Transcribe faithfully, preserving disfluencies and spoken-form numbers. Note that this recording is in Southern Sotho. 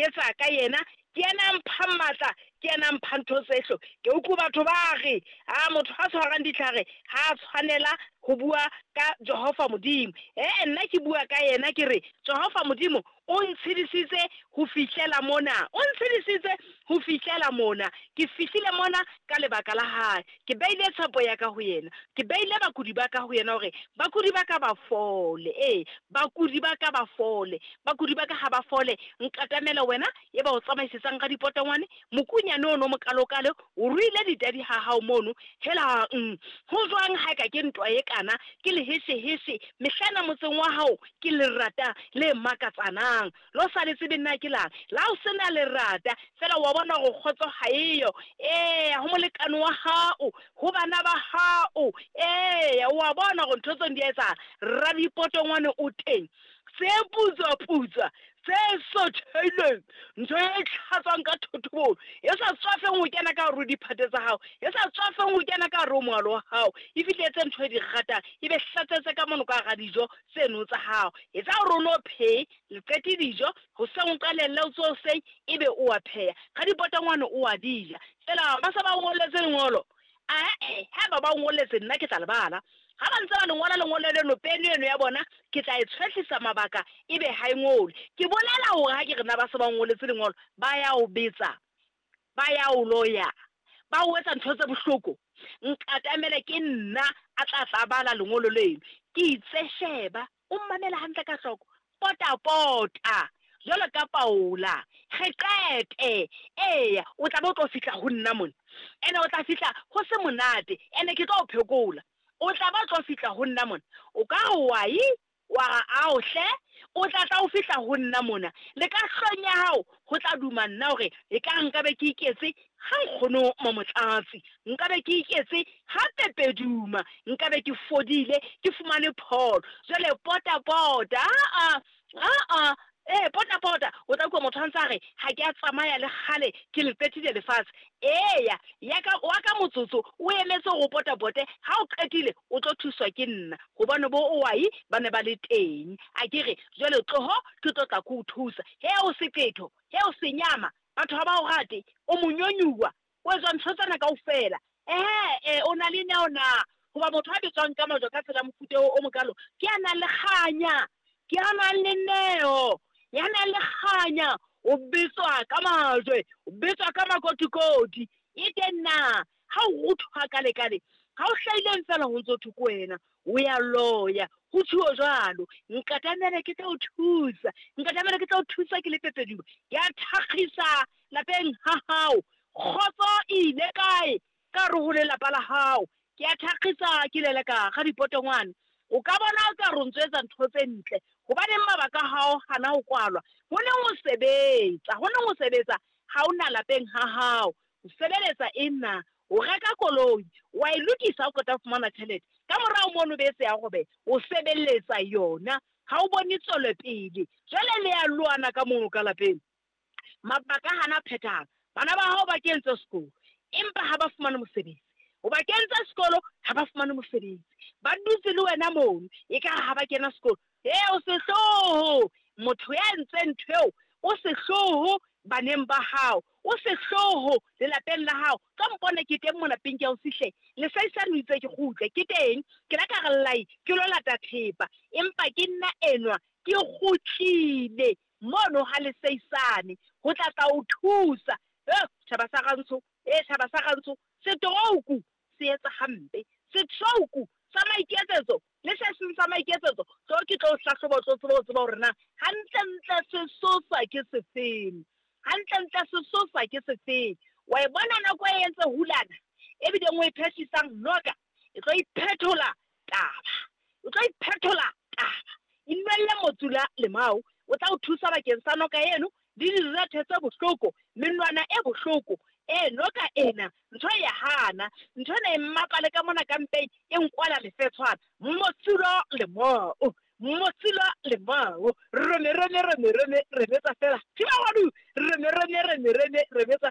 etsa ka yena. Ke yena a mphang matla, ke yena a mphang ntho tsehlo. Ke utlwe batho ba re, a motho a tshwarang ditlhare ha a tshwanela ho bua ka Jehova Modimo. Eh, nna ke bua ka yena ke re Jehova Modimo o ntshedisitse ho fihlela mona, o ntshedisitse ho fihlela mona. Ke fihlile mona ka lebaka la hae. Ke beile tshepo ya ka ho yena, ke beile bakudi ba ka ho yena hore bakudi ba ka ba fole. Ee, bakudi ba ka ba fole, bakudi ba ka ha ba fole. Nkatamela wena e ba o tsamaisetsang ka dipotongwane, mokunyane ono mokalokalo, o ruile ditadi ha hao mono. Helang, ho jwang ha ka ke ntwa e kana, ke lehesheheshe mehlana motseng wa hao, ke lerata le makatsanang. Lo sa le tsebe nna ke lang, la o sena lerata fela wa bona hore kgotso ha eyo. Ee, ho molekane wa hao, ho bana ba hao. Ee, wa bona hore ntho tseno di a etsahala. Radipotongwane o teng, tse putswa putswa, tse sotheileng, ntho e tlhatswang ka thotobolo, e sa tswafeng ho kena ka hare ho diphate tsa hao, e sa tswafeng ho kena ka hare ho moalo wa hao. E fihletse ntho e di ratang, e be hlatsetse ka mono ka hara dijo tseno tsa hao. Etsa hore o no phehe, le qete dijo hoseng, o qalelle o tsohe hoseng, ebe o a pheha. Radipotongwane o a di ja. Fela ba se ba o ngolletse lengolo. Ae, haeba ba o ngolletse nna ke tla le bala. Ha ba ntse ba le ngola lengolo leno, pene eno ya bona ke tla e tshwehlisa mabaka, ebe ha e ngole. Ke bolela hore ha ke re nna ba se ba ngoletse lengolo, ba ya o betsa, ba ya o loya, ba o etsa ntho tse bohloko. Nkatamele ke nna a tla tla bala lengolo leno. Ke itse sheba, o mmamele hantle ka hloko, pota pota jwalo ka Paula, re qete. Eya, o tla be o tlo fihla ho nna mona, ene o tla fihla ho se monate, ene ke tlo o phekola. O tla ba tlo fihla ho nna mona, o ka re wa yi, wa re ao hle, o tla tla o fihla ho nna mona. Le ka hlong ya hao ho tla duma nna hore e ka nka be ke iketse ha nkgono Mamotlatsi, nka be ke iketse ha Pepeduma, nka be ke fodile, ke fumane pholo. Jwale pota pota, a a a ee, pota pota. O tla utlwa motho a ntse a re ha ke a tsamaya le kgale, ke le qetile lefatshe. Eya, ya ka wa ka motsotso o emetse hore o potapote. Ha o qetile o tlo thuswa ke nna, hobane bo owai ba ne ba le teng. A ke re jwale tloho, ke tlo tla ke o thusa. He o seqetho, he o senyama, batho ha ba o rate, o monyonyuwa, o etswa ntho tsena kaofela. Ehe, o na le neo na? Hoba motho a betswang ka majwe ka tsela mofuta o mokalo, ke a nang le kganya, ke a nang le neo, ya nang le kganya, o betswa ka majwe, o betswa ka makotikoti. E teng na ha o ruthwa ka lekale, ha o hlahileng fela ho ntso thwe ke wena, o ya loya, ho tjhuo jwalo. Nkatamele ke tla o thusa, nkatamele ke tla o thusa ke le Pepeduma. Ke a thakgisa lapeng ha hao, kgotso e ile kae ka hare ho lelapa la hao? Ke a thakgisa ke leleka ga dipotongwane. O ka bona o ka re o ntso etsa ntho tse ntle, hobaneng mabaka a hao hana ho kwalwa? Ho neng ho sebetsa, ho neng ho sebetsa ha o na lapeng ha hao. O sebeletsa eng na? O reka koloi, wa e lokisa, o qeta ho fumana tjhelete. Ka morao mono bese ya robeha, o sebeletsa yona, ha o bone tswelopele. Jwale le ya lwana ka mono ka lapeng. Mabaka hana phethahala. Bana ba hao ba kentse sekolo, empa ha ba fumane mosebetsi. O ba kentse sekolo, ha ba fumane mosebetsi. Ba dutse le wena mono, ekare ha ba kena sekolo. E, o sehloho, motho ya entseng ntho eo, o sehloho baneng ba hao, o sehloho lelapeng la hao. Ka mpone ke teng mona peng ke ya o fihle, lesaisane o itse ke kgutle, ke teng. Ke la ka re llai, ke lo lata thepa, empa ke nna enwa, ke kgutlile mono ha lesaisane ho tla tla o thusa. Eh, tjhaba sa rantsho, eh, tjhaba sa rantsho, stroke se etsa hampe, stroke sa maiketsetso le se seng sa maiketsetso. Tlo ke tlo hlahloba, o tlo tseba ho tseba hore na hantlentle sesosa ke sefeng, hantlentle sesosa ke sefeng. Wa e bona nako e entse hulana, ebileng o e phehlisang noka, e tlo iphethola taba, e tlo iphethola taba. Inwelle motsula lemao, o tla o thusa bakeng sa noka eno le direthe tse bohloko, menwana e bohloko. E noka ena ntho ya hana, ntho ena e mmapale ka mona ka mpeng, e nkwala lefetshwana. Motsula lemao, motsula lemao, reme reme reme reme re betsa fela. Thiba wadu, reme reme reme reme re betsa.